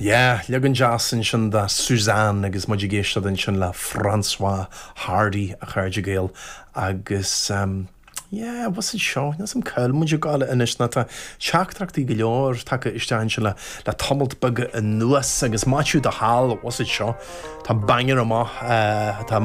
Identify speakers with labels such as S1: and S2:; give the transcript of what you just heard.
S1: Yeah, leagan deas ansin de Suzanne agus muid ag éisteacht ansin le François Hardy, a chairde Gael, agus yeah, what's it seo? Níl 's a'm cá bhfuil muid ag gabháil anois nó tá teachtaireachtaí go leor tagtha isteach ansin le le tamalt beag anuas agus Maitiú do sheal, what's it seo? Tá banger amach, tá.